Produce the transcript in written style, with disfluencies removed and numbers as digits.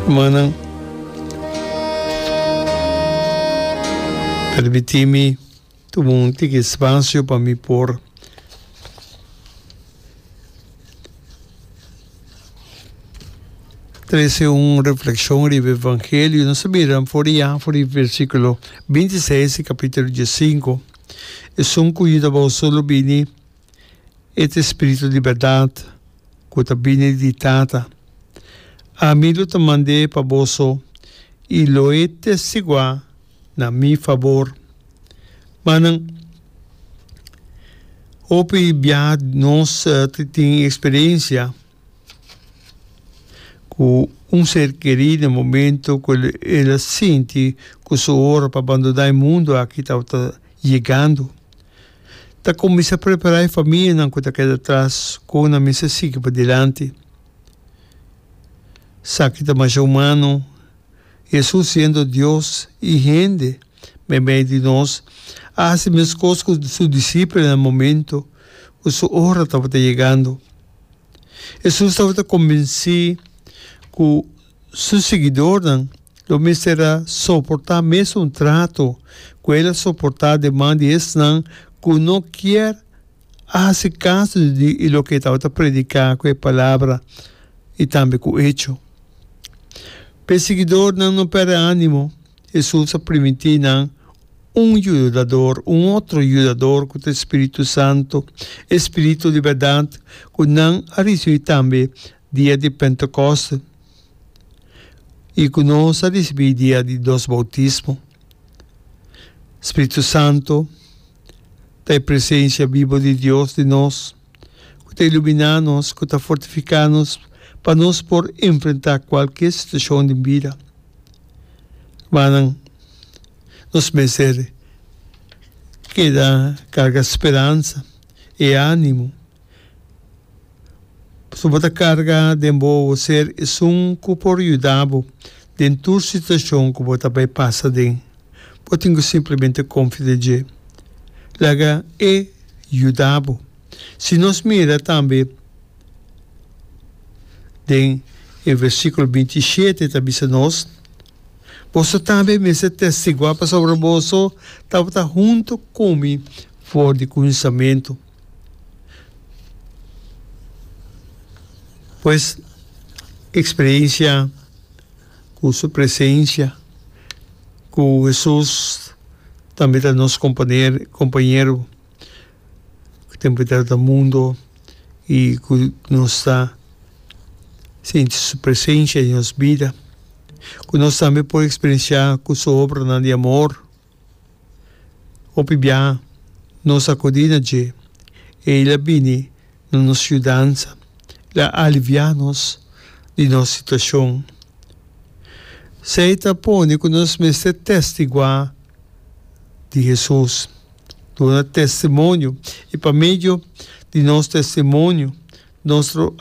Rumannan, permití mi tuma un tiki espacio pa mi por trece un reflexion riba Evangelio. Nos ta mira for di ya, for di versiculo 26 di capítulo 15. Esun cu yuda boso lo bini. E ta e Spiritu di bèrdat ku ta bini di Tata. Ami lo ta mand'é pa boso i lo e testiguá na mi fabor. Manan, hopi biaha nos ta tin eksperensia ku un ser kerí na momento ku el a sinti ku su ora pa bandoná e mundu aki tabata yegando. Ta kuminsá prepará e famianan ku ta keda atras kon nan mester sigui padilanti. Esaki ta masha humano. Hesus siendo Dios i hende meimei di nos, a hasi meskos ku su disipelnan na momento ku su ora tabata yegando. Hesus tabata kombensí ku su siguidornan lo mester a soportá mesun trato ku el a soportá den man di esnan ku no kier a hasi kaso di loke e tabata prediká ku e palabra i tambe ku echo. P'e siguidornan no pèrdè ánimo, Hesus a primintí nan un yudador, un otro yudador ku ta e spiritu santu, e spiritu di bèrdat ku nan a risibí tambe dia di Pentekòste i ku nos a risibí dia di nos boutismo. Spiritu Santu ta e presensia bibu di Dios den nos, ku ta iluminá nos, ku ta fortifiká nos pa nos por enfrentá kualke situashon den bida. Rumannan, nos mester keda karga speransa i ánimo. Pasobra bo ta karga den bo ser esun ku por yuda bo den tur situashon ku bo ta bai pasa den. Bo tin ku simplemente konfia den dje. Laga e yuda bo. Si nos mira tambe den e versíkulo 27 ta bisa nos, Boso tambe mester testiguá pasobra boso tabata huntu ku mi for di kuminsamentu. Pues, experiencia cu su presencia, cu Hesus tambe ta nos compañero cu tempo ta ta mundo y cu nos ta sinti su presencia den nos bida, cu nos tambe por experiencia cu su obranan di amor. Hopi biaha nos a akudí na dje, i el a bini na nos yudansa, el a aliviá nos di nos situashon. Esei ta pone ku nos mester testiguá di Hesus, duna testimonio, i pa medio di nos testimonio nos lo.